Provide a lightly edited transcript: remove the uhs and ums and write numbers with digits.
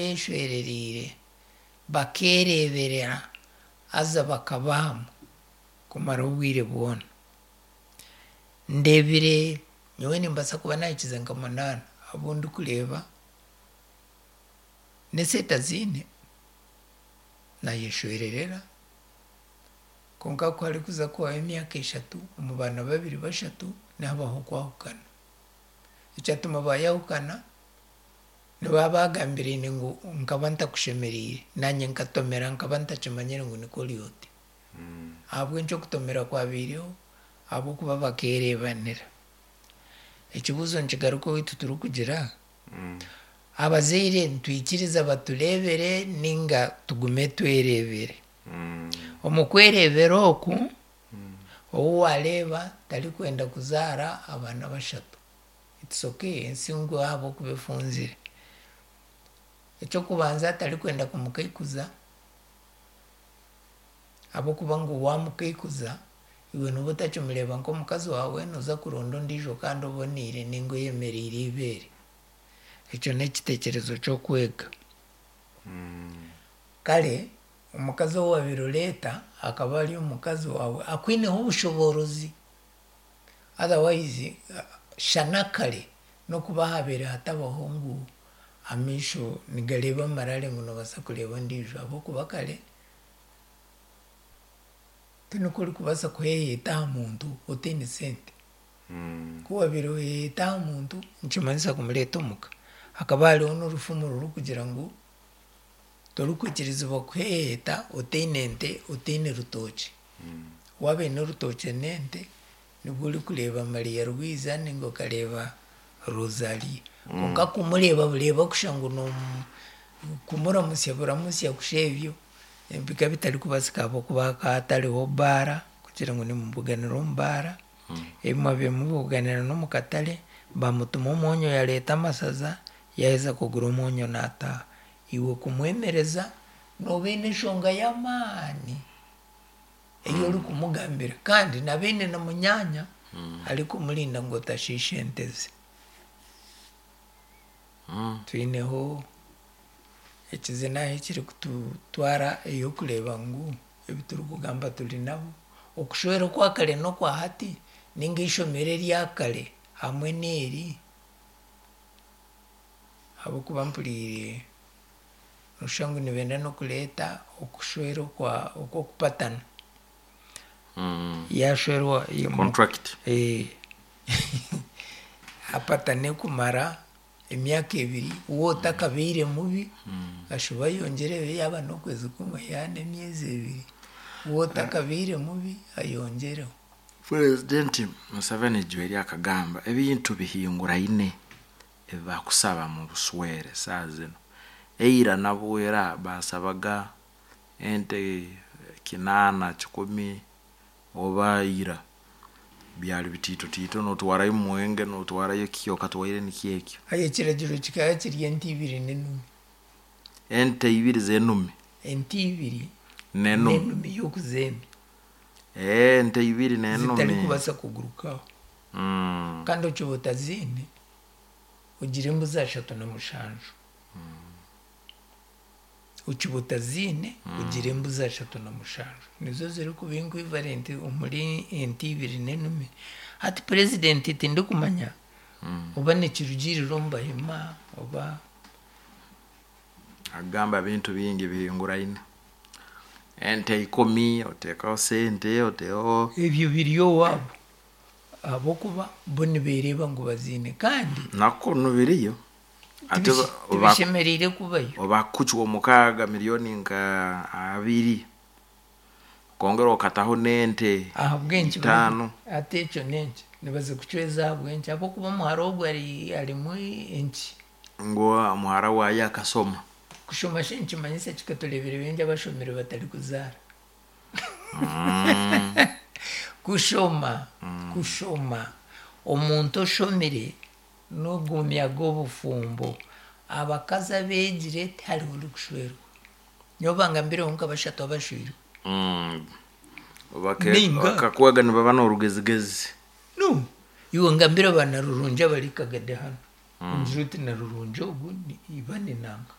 Beeshwerereire bakeereeberera haza bakaba hamwe kumara obwire bwona. Ndeebire nyowe nimbaasa kuba naahikize nka munaana abu ndikureeba n'esente aziine naayeshwererera kwonka ku harikuza kuhwaho emyaka eshatu omu baana babiri bashatu nihabaho okwahukana. Ekyatuma baayahukana Nibaba baagambiraine ngu nkaba ntakushemereire, naanye nkatomera nkaba ntakimanyire ngu nikwo ori oti. Ahabw'enki okutomera kwabaireho? Ahabw'okuba bakeereebanira. Ekibuuzo nikigaruka owaitu turikugira, abazaire nitwikiriza batureebere nainga tugume twereebere? Omu kwereebera oku, ou waareeba tarikwenda kuzaara abaana bashatu. It's ok ensi ngu ahabw'okuba efunzire. Eky'okubanza tarikwenda kumukaikuza ahabw'okuba ngu waamukaikuza iwe nooba otakimureeba nk'omukazi waawe nooza kuronda ondiijo kandi oboneire nainga oyemereire eibeere. Ekyo n'ekiteekyerezo ky'okwega. Kare omukazi ou waabaire oreeta akaba ari omukazi waawe akwineho obushoboorozi. Otherwise shana kare nokuba habaire hatabaho ngu amaisho nigareeba amarare ngu nobaasa kureeba ondiijo ahabw'okuba kare tinikwo orikubaasa kuheheeta aha muntu otaine sente. Ku wabaire oheheeta aha muntu nikimanyisa kumureeta omuka. Hakaba hariho n'orufumu rurikugira ngu torikwikirizibwa kuheheeta otaine nte otaine rutookye. Waaba oine orutookye n'ente, nibwo orikureeba Maria Rwiza nainga okareeba Rosalia. Kwonka kumureeba bureeba kusha ngu kumuramutsya buramutsya kusha ebyo bikaba bitarikubaasika ahabw'okuba hakaba hatariho baara kugira ngu nimubuganira omu baara, ebi mwabaire mubuganira n'omu katare, bamutuma omwonyo yareeta amashaza, yaaheza kugura omwonyo naataaha. Iwe kumwemereza nooba oine enshonga y'amaani. ei orikumugambira kandi naaba aine na munyaanya arikumurinda ngu otashiisha ente ze. Twineho ekizina ahu ekirikututwara ey'okureeba ngu ebi turikugamba turi nabo. Okushwera okwa kare n'okwa hati ninga eishomero erya kare hamwe n'eri ahabw'okuba mpuriire Noshusha ngu nibenda n'okureeta okushwera okwa okw'okupatana. Yaashwerwa Contract. Apatane kumara emyaka ebiri, we otakabaire mubi ashube ayongyereho yaaba n'okwezi kumwe yaaba n'emyezi ebiri, we otakabaire mubi ayongyereho. Purezidenti Museveni Joeli akagamba ebintu bihinguraine ebi bakusaba mu buswere saaha zinu. Eira nabwo era baasabaga ente kinaana, kikumi oba ira byali bitiito tiito notwarayo omwenge notwarayo ki okatwaire nikyo ekyo. Aye ekiragiro kikaba kiri ente ibiri n'enumi. Ente ibiri z'enumi. Ente ibiri n'enumi y'okuzeemya. Ente ibiri n'enumi. Zitarikubaasa kugurukaho. Kandi okiba otaziine, ogire embuzi ashatu na mushanju. Okiba otaziine, ogire embuzi ashatu na mushanju. Nizo zirikuba equivalent omuri ente ibiri n'enumi. Hati purezidenti tindikumanya oba nikirugiirira omu bahima oba. Agamba ebintu bingi bihinguraine. Ente ikumi, oteekaho sente, oteeho. Ebyo biri owaabo. Ahabw'okuba bo nibeereeba ngu baziine kandi. Na kunu biriyo. Ate Tibishemereire kubayo. Obakucwa omukaaga milioni nka abiri okongera okataho n'ente Ahabw'enki itaano. Hati ekyo n'enki? Nibazikucweza ahabw'enki? Ahabw'okuba omuhara ogwo arimu enki? Ngu omuhara waayo akashoma. Kushoma shi nikimanyisa ki? Ka tureebire baingi abashomire batarikuzaara. Kushoma, kushoma. Omuntu oshomire n'ogumya g'obufumbo. Abakazi abeegire tihariho orikushwerwa. Nyowe bangambireho nka bashatu abashweirwe. Nainga. Bakakwega nibaba n'orugezigezi. No, iwe ngambira ba Narurungi abari Kagadi hanu. Ongire oti Narurungi ogu iba ni nanka.